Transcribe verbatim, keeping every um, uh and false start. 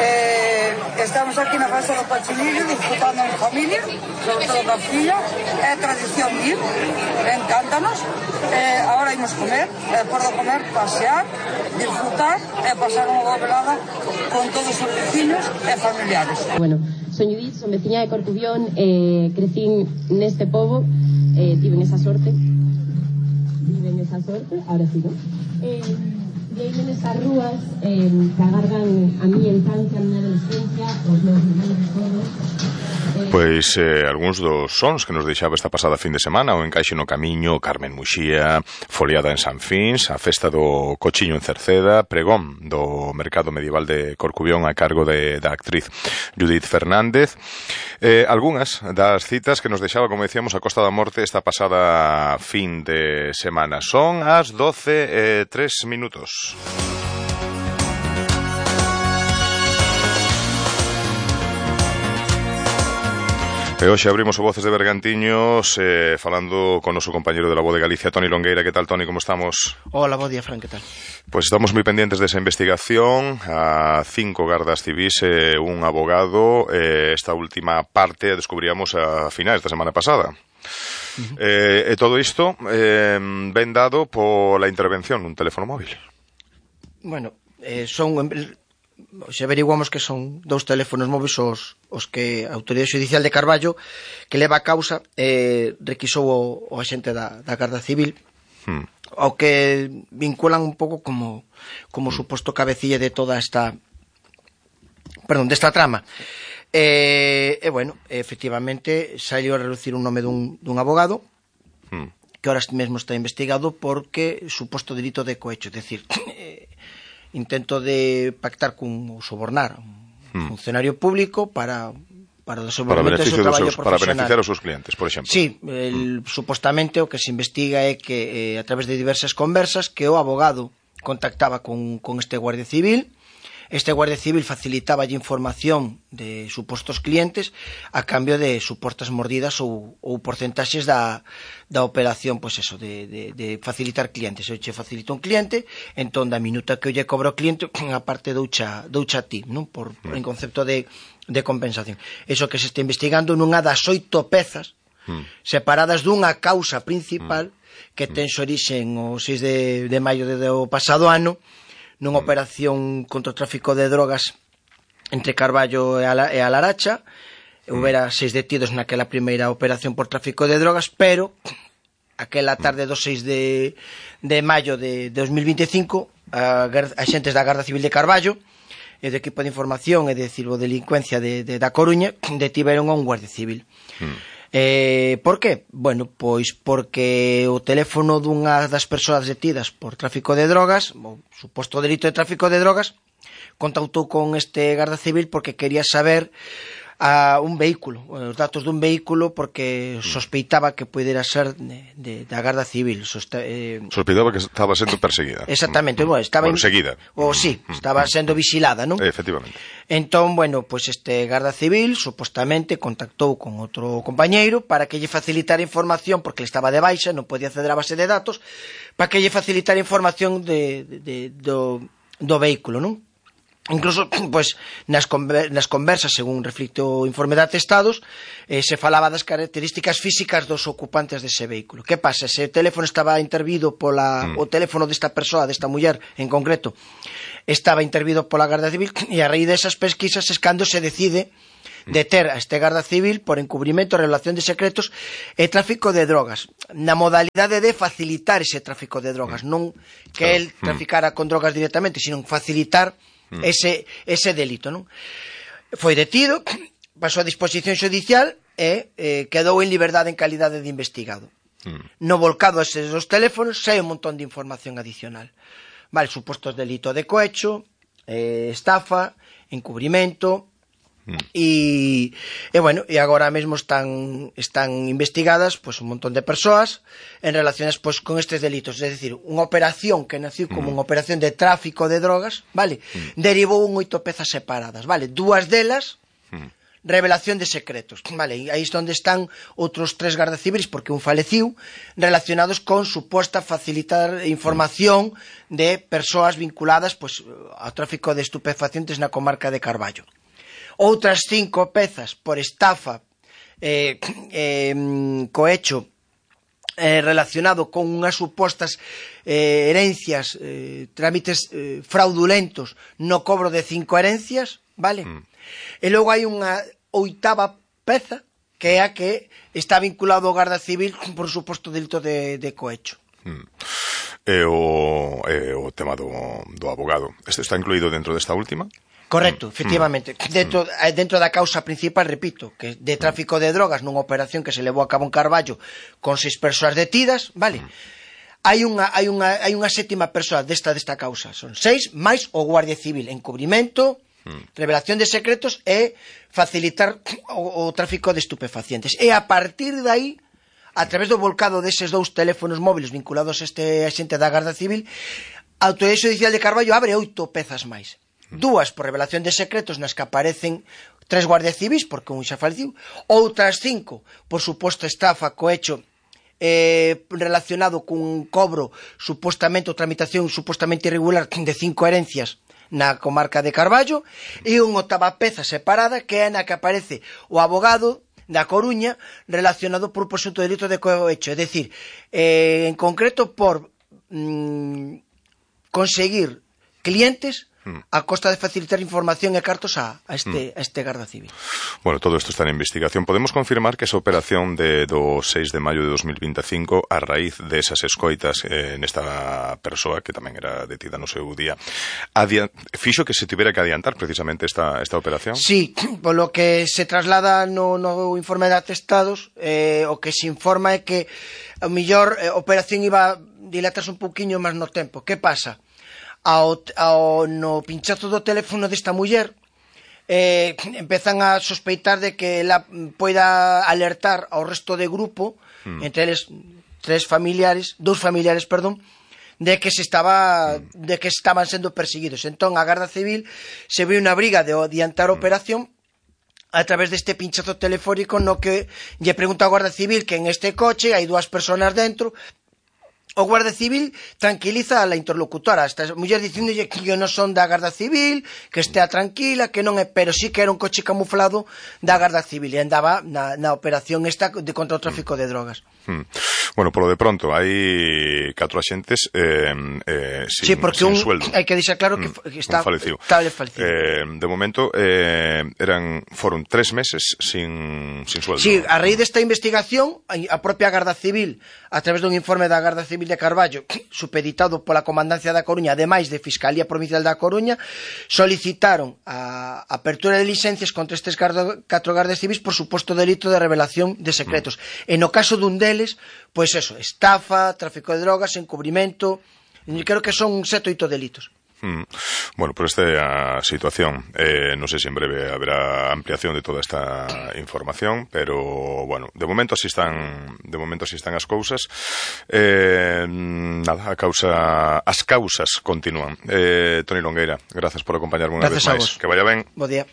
Eh, estamos aquí na fase do Pachinillo disfrutando en familia, sobre todo da filla. É tradición ir, encántanos. Eh, ahora imos comer, e por do comer pasear, disfrutar e pasar unha boa velada con todos os vecinos e familiares. Bueno, son Judith, son veciña de Corcubión, eh, crecín neste pobo, eh, tiven esa sorte, tiven esa sorte, ahora sí, ¿no? Eh, e aí nesas rúas eh, que agardan a miña infancia, a miña adolescencia, os meus irmáns todos. Pois eh, algúns dos sons que nos deixaba esta pasada fin de semana, o Encaixe no Camiño, Carmen Muxía, Foliada en San Fins, a festa do Cochiño en Cerceda, pregón do Mercado Medieval de Corcubión a cargo de, da actriz Judith Fernández. Eh, algunhas das citas que nos deixaba, como decíamos, a Costa da Morte esta pasada fin de semana. Son as doce e tres minutos. E hoxe abrimos o Voces de Bergantiños eh, falando con o noso compañero de la Voz de Galicia, Toni Longueira. Que tal, Toni, como estamos? Hola, bo día, Fran, que tal? Pois estamos moi pendientes desa investigación, a cinco gardas civis e eh, un abogado. Eh, esta última parte a descubríamos a finais da semana pasada. Uh-huh. Eh, e todo isto eh, ben dado pola intervención nun teléfono móvil. Bueno, eh, son... Se averiguamos que son dous teléfonos móviles os, os que a Autoridade Xudicial de Carballo, que leva a causa, eh, requisou o, o axente da, da Garda Civil, hmm. ao que vinculan un pouco como, como suposto cabecilla de toda esta perdón, desta trama. E, e bueno, efectivamente salió a relucir un nome dun, dun abogado hmm. que ahora mesmo está investigado porque suposto delito de cohecho, é dicir, eh, intento de pactar cun ou sobornar un hmm. funcionario público para para o desenvolvemento do seu traballo profesional. Para beneficiar os seus clientes, por exemplo. Sí, el, hmm. supostamente o que se investiga é que eh, a través de diversas conversas que o abogado contactaba con, con este guardia civil. Este guardia civil facilitaballe información de supostos clientes a cambio de supostas mordidas ou, ou porcentaxes da, da operación, pois eso, de, de, de facilitar clientes. Eu che facilito un cliente, entón da minuta que eu lle cobro ao cliente, a parte doucha, doucha a ti, non? Por, por en concepto de, de compensación. Eso que se está investigando nunha das oito pezas mm. separadas dunha causa principal mm. que ten orixen o seis de, de maio do pasado ano, nunha operación contra o tráfico de drogas entre Carballo e a, e a Laracha. Houbera seis detidos naquela primeira operación por tráfico de drogas, pero aquela tarde do seis de, de maio de dos mil veinticinco, a, a xentes da Garda Civil de Carballo e do equipo de información e de ciberdelincuencia de, de, da Coruña detiveron a un guardia civil. Mm. Eh, por qué? Bueno, pois porque o teléfono dunha das persoas detidas por tráfico de drogas, o suposto delito de tráfico de drogas, contactou con este Garda Civil porque quería saber a un vehículo, os datos dun vehículo, porque sospeitaba que pudera ser de, de, da Garda Civil. Sosta, eh... Sospeitaba que estaba sendo perseguida. Exactamente, bueno, estaba bueno, seguida. O sí, estaba sendo vigilada, non? Efectivamente. Entón, bueno, pois pues este Garda Civil supostamente contactou con outro compañeiro para que lle facilitara información, porque ele estaba de baixa, non podía acceder á base de datos, para que lle facilitara información de, de, de, do, do vehículo, non? Incluso, pois, nas, conver nas conversas, según reflicte o informe de atestados, eh, se falaba das características físicas dos ocupantes dese vehículo. Que pasa? Se o teléfono estaba intervido pola... Mm. o teléfono desta persoa, desta muller, en concreto, estaba intervido pola Garda Civil, e a raíz desas pesquisas es cando se decide deter a este Garda Civil por encubrimento, revelación de secretos e tráfico de drogas, na modalidade de facilitar ese tráfico de drogas, non que el traficara con drogas directamente, sino facilitar ese, ese delito, non? Foi detido, pasou a disposición xudicial e eh, quedou en liberdade en calidade de investigado. Mm. No volcado a eses dos teléfonos sai un montón de información adicional. Vale, supostos delito de cohecho, eh, estafa, encubrimento, e, e bueno, e agora mesmo están están investigadas pues, un montón de persoas en relaciones pues, con estes delitos, é dicir, unha operación que nació como mm. unha operación de tráfico de drogas, vale, mm. derivou en oito pezas separadas, vale, dúas delas mm. revelación de secretos. Vale, aí é onde están outros tres gardas civiles, porque un faleciu, relacionados con suposta facilitar información de persoas vinculadas pues, ao tráfico de estupefacientes na comarca de Carballo. Outras cinco pezas por estafa eh, eh, cohecho eh, relacionado con unhas supostas eh, herencias, eh, trámites eh, fraudulentos no cobro de cinco herencias, vale? Mm. E logo hai unha oitava peza que é a que está vinculado ao Garda Civil por suposto delito de, de cohecho. Mm. E o, e o tema do, do abogado, este está incluído dentro desta última? Correcto, efectivamente. Mm. Dentro, dentro da causa principal, repito, que de tráfico de drogas nunha operación que se levou a cabo en Carballo con seis persoas detidas, vale? Mm. Hai unha, hai unha, hai unha sétima persoa desta desta causa. Son seis máis o Guardia Civil, encubrimento, mm. revelación de secretos e facilitar o, o tráfico de estupefacientes. E a partir de aí, a través do volcado deses dous teléfonos móviles vinculados a este axente da Garda Civil, a Autoridade Judicial de Carballo abre oito pezas máis. Dúas por revelación de secretos nas que aparecen tres guardias civis, porque un xa faleciu, outras cinco por suposto estafa, cohecho, eh, relacionado cun cobro supostamente ou tramitación supostamente irregular de cinco herencias na comarca de Carballo, e unha octava peza separada que é na que aparece o abogado da Coruña relacionado por presunto delito de cohecho, é dicir, eh, en concreto por mm, conseguir clientes a costa de facilitar información e cartos a, a, este, a este Garda Civil. Bueno, todo isto está en investigación. Podemos confirmar que esa operación de do seis de maio de dos mil vinte e cinco, a raíz desas escoitas eh, nesta persoa que tamén era detida no seu día, adiant... fixo que se tivera que adiantar precisamente esta, esta operación? Sí, polo que se traslada no, no informe de atestados, eh, o que se informa é que a mellor eh, a operación iba a dilatarse un pouquiño máis no tempo. Que pasa? Ao, ao, no pinchazo do teléfono desta muller eh, empezan a sospeitar de que ela poida alertar ao resto de grupo, mm. entre eles tres familiares, dous familiares, perdón, de que se estaba mm. de que estaban sendo perseguidos. Entón a Garda Civil se ve unha briga de adiantar a operación a través deste pinchazo telefónico no que lle pregunta ao Guarda Civil que en este coche hai dúas personas dentro. O Guardia Civil tranquiliza a la interlocutora, esta muller dicíndolle que non son da Garda Civil, que estea tranquila, que non é, pero sí que era un coche camuflado da Garda Civil e andaba na, na operación esta de contra o tráfico de drogas. Mm. Bueno, polo de pronto, hai catro axentes eh, eh, sin, sí, porque sin un, sueldo. Hai que deixar claro que, mm, que está falecido. falecido. Eh, de momento, eh, eran foron tres meses sin, sin sueldo. Sí, a raíz desta investigación, a propia Garda Civil, a través dun informe da Garda Civil de Carballo, supeditado pola Comandancia da Coruña, ademais de Fiscalía Provincial da Coruña, solicitaron a apertura de licencias contra estes catro gardas civis por suposto delito de revelación de secretos. Mm. E no caso dun deles, pois eso, estafa, tráfico de drogas, encubrimento, creo que son sete ou oito delitos. Mm. Bueno, por esta é a situación. Eh, non sei se en breve haberá ampliación de toda esta información, pero bueno, de momento así están, de momento así están as cousas. Eh, nada, a causa, as causas continúan. Eh, Toni Longueira, grazas por acompañarme unha vez máis. Que vaya ben. Bo día.